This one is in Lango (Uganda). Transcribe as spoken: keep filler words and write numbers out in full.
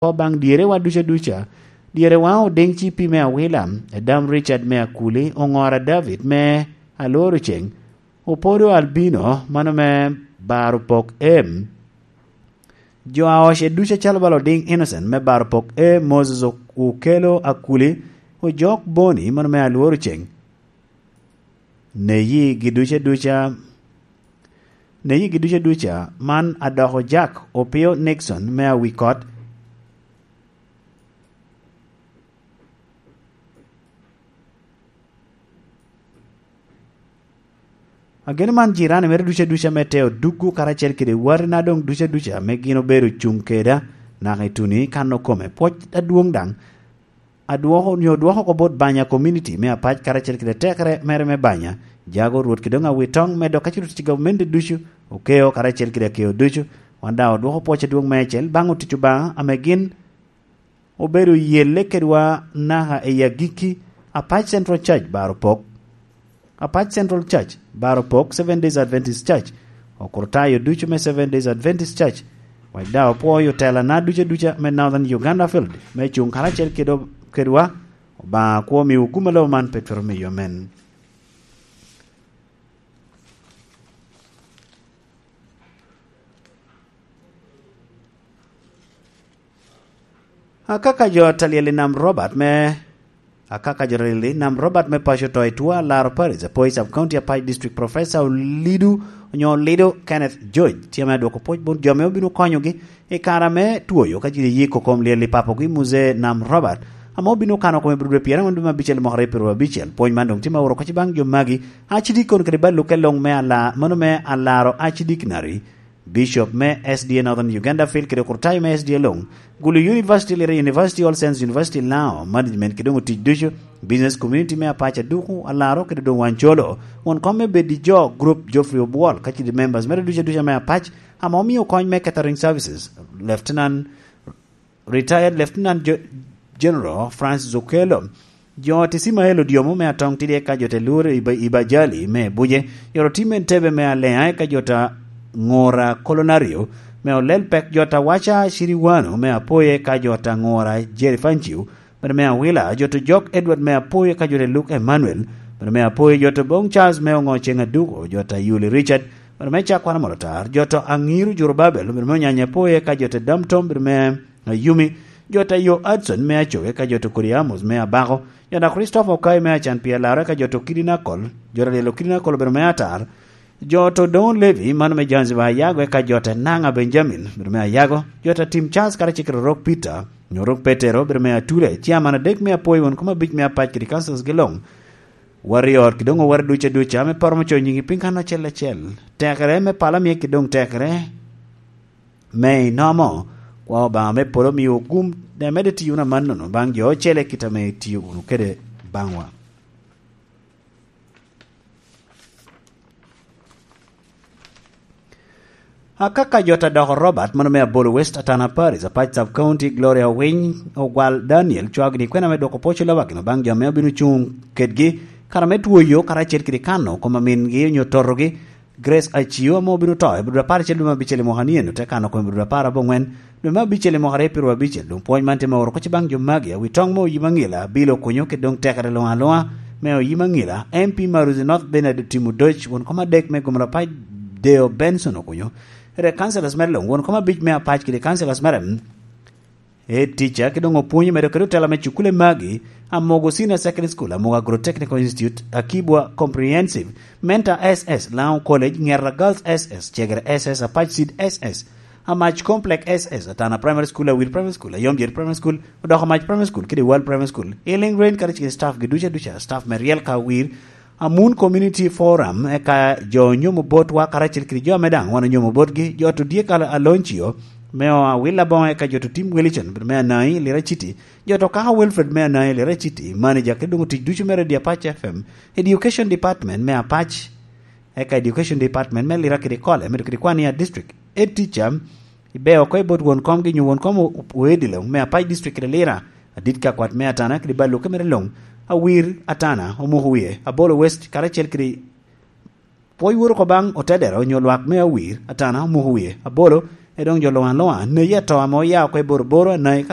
oko baŋ dyerewa duca duca. Dyerewa Odiŋ C P me Awila, Edam Richard me Akuli, Oŋora David me Alworo Ceŋ, Opodo Albino, mano me Baro Pok M, jo a oce ducu acalo bala Odiŋ Innocent me Baro Pok E, Moses Okelo Akuli, Ojok Boni, mano me Alworo Ceŋ. Neyi gi duca duca, neyi gi duca duca, man adoko Jack Opio Nixon me Awikot. Ageno man jirani mere duca duca me teo duggo karacel kede watina doŋ duca duca me gin obedo cuŋ keda naka i tuni kan okome. Pwoc adwoŋ daŋ adwoko, onyo odwoko oko bot Banya community me Apac karacel kede tekere mere me Banya, jago Rwot kede doŋ Awitoŋ, medo ka Rwot tic i gavumenti ducu, Okeo karacel kede Akeo ducu. Wan daŋ odwoko pwoc adwoŋ meicel baŋ otic Obaŋa ame gin obedo yelle kedwa naka i agikki. Apac Central Church Baro Pok. Apac Central Church, Baro Pok, Seven Days Adventist Church, okrutayo ducu me Seven Days Adventist Church, wek daŋ opwoyo telana duca duca me Northern Uganda Field, me cuŋ karacel kede, kedwa. Obaŋa kwo miwu gum alobo man pe twero miyo men. Akaka jo ta lyel i Nam Robert me, akaka jo ta lyel i Nam Robert me paco to i Tua, Laro Parish, Apoi Sub County, Apac District, Professor Olido, onyo Olido Kenneth George, tye ame adwoko pwoc bot jo ame obino konyogi i kare ame twoyo ka ji yiko kom lyel i papogi, Muzee Nam Robert, ame obino kano kome i dwe pyerangwen dwe me abicel i mwaka aryo pyerabicel. Pwony man doŋ tye ma oro kacci baŋ jo magi, Archdeacon kede bal lukke luŋ me ala-, mano me alaro Archdeaconry, Bishop me S D A Northern Uganda Field kede Kurtayo me S D A luŋ, Gulu University, Lira University, All Saints University, Lao, management kede doŋ otic ducu, business community me Apac Aduku, Alaro kede doŋ Wancolo, won kom me bed i jo group Geoffrey Obwol, ka citi members mere ducu ducu me Apac, ame omio kony me catering services, Lieutenant, Retired Lieutenant Ge-, General Francis Okello, jo Tisimael Odiomo me Atong Tidi eka jo te Lur i Ba-, i Bajali me Buje, jo Tim Entebe me Alea eka jo ta Ŋora Kolonario me Olel Pek, jo ta Waca Ciriwano me Apoye eka jo ta Ŋora Jerry Fanciu, bene me Awila, jo ta Jok Edward me Apoye eka jo ta Luke Emmanuel, bene me Apoye, jo ta Bong Charles me Oŋo Ceŋ Aduko, jo ta Yuli Richard, bene me Cakwana Molotar, jo ta Aŋiru Jurubabel, bene me Onyanya Apoye eka jo ta Dam Tom, bene me Ayumi, jo ta yo Adson me Acoge, ka jo ta Kodi Amos me Abako, jo ta Christopher Okai me Acan pi Alarre, ka jo ta Kidinakol, jo ta Lelo Kidinakol obedo me Atar, jo ta Odoŋo Levi, mano me Zanzibar Ayago, eka jo ta Naŋa Benjamin, obedo me Ayago, jo ta Tim Charles karacel kede Orok Peter, onyo Orok Petero, obedo me Atule, ciaman adek me Apoyo, won kom abic me Apac kede councils gi luŋ. Warrior, ki doŋ owar duca duca, ame pe romo coyo nyigi piny kan acel acel. Tekere me pala mie ki doŋ tekere me inomo, kwa Obaŋa me polo miwu gum, de medde tiyo wunu amannono baŋ jo ocele kit ame itio wunu kede baŋwa. Akaka jo ta doko Robert, mano me Abolo West, Atana Paris, Apac Sub County, Gloria Owiny, Ogwal Daniel, cwagini kwena me dwoko pwoc i lobakino baŋ jo ame obino cuŋ kedgi, kara me twoyo, karacel kede kano kom amingi onyo totogi, Grace Acio ame obino to i budura apar acel dwe me abicel i mwaka ni eno, te kano kome i budura apar aboŋwen dwe me abicel i mwaka aryo pyerabicel. Doŋ pwony man tye me oro kocci baŋ jo magi, awi toŋ me oyim aŋila, bilo kunyo kede doŋ tekere luŋ aluŋa me oyim aŋila, M P Maruzi North Bernard Timo Doc, won kom adek me Gomora Pac Deo Benson Okunyo, kede councillors mere luŋ, won kom abic me Apac kede councillors mere, Head teacher, ki doŋ opwonyo medo kede otela me cukule magi, Amogo Senior Secondary School, Amogo Agro-Technical Institute, Akibwa Comprehensive, Mentor S S, Lango College, Ŋera Girls S S, Cegere S S, Apac Seed S S, Amac Complex S S, Atana Primary School, Awil Primary School, Ayomjeri Primary School, Odoko Amac Primary School, kede Wal Primary School, Healing Rain kadi kede staff gi duca duca, staff me ryel ka wir, Amun Community Forum, eka jo onyomo botwa karacel kede jo ame daŋ wan onyomo botgi, jo to Diek Al-, Aloncio, me o Awil Aboŋo, eka jo to Tim Wilson, me Anai, Lira City, jo to Kaka Wilfred me Anai, Lira City, manager kede doŋ otic ducu me Radio Apac F M, Education Department me Apac, eka Education Department me Lira kede Kole, medo kede Kwania District, Head Teacher, Ibe oko i bot won komgi nyo won kom o-, oedi luŋ me Apac District kede Lira, adit ka kwat me Atana kede bal lukke mere luŋ, Awir, Atana, omuko wie, Abolo West, karacel kede pwoc woro oko baŋ otedero nyo lwak me Awir, Atana, omuko wie, Abolo, doŋ jo luŋ aluŋa, neyi ato ame oya oko i Boroboro, anayi ka